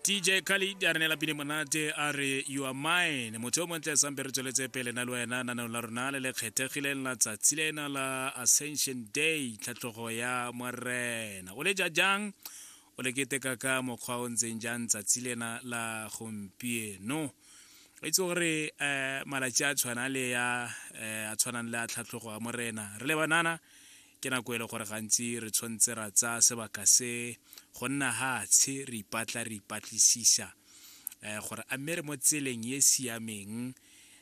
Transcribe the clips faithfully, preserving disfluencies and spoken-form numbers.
D J Khaled a re neela pine monate, a re "You Are Mine". Motho o montle, sampe re tsweletse pele na le wena naneo la rona le le kgethegileng la tsatsi lena la Ascension Day, tlhatlhogo ya Morena. O le ja jang? O le keteka ka mokgwa o ntseng jang tsatsi lena la gompieno? O itse gore um malatsi a tshwana le ya um a tshwanang le a tlhatlhogo ya Morena, re le banana ke nako e le gore gantsi re tshwanetse ra tsaya sebaka se go nna hatshe, re ipatla, re ipatlisisa um gore a mme re mo tseleng e siameng um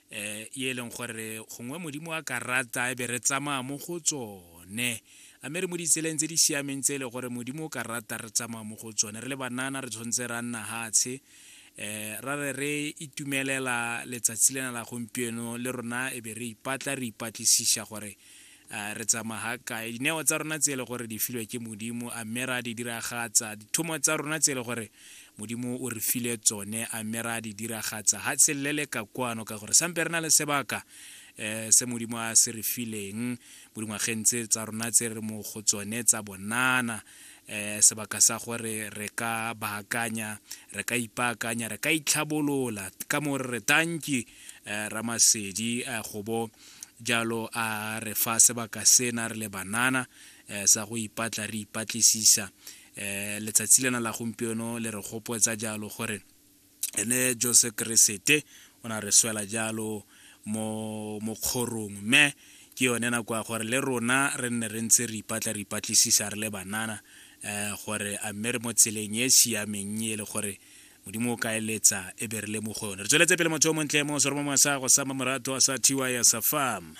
e e leng gore gongwe Modimo a ka rata e be re tsamaya mo go tsone. A mme re mo ditseleng tse di siameng tse e le gore Modimo o ka rata re tsamaya mo go tsone? Re le banana re tshwanetse ra nna hatshe eh ra re re itumelela letsatsi lena la gompieno, le rona e be re ipatla, re ipatlisisa gore uh, re tsamaya kae. Dineo tsa rona tse e le gore di filwe ke Modimo, a mme ra di diragatsa? Dithomo tsa rona tse e le gore Modimo o re file tsone, a mme ra di diragatsa? Ha tselele ka kwano, ka gore sampe re na le sebaka eh se Modimo a se re fileng mo dingwageng tse tsa rona tse re mo go tsone tsa bonana, eh sebaka sa gore re ka baakanya, re ka ipaakanya, re ka itlhabolola. Ka mo re re tanki eh Ramasedi eh, go bo jalo a re fa sebaka sena re le banana eh, sa go ipatla, re ipatlisisa. eh letsatsi lena la gompieno le re gopotsa jalo gore ene Jesu Keresete o na re swela jalo mo mo kgorong, mme ke yone nako ya gore le rona re nne re ntse re ipatla, re ipatlisisa re le banana eh gore a mme re mo tseleng e siameng e le gore Modimo o ka eletsa e be re le mo go yone. Re tsweletse pele, motho o montle, mo seromong sa go sa mamorato sa T Y sa farm.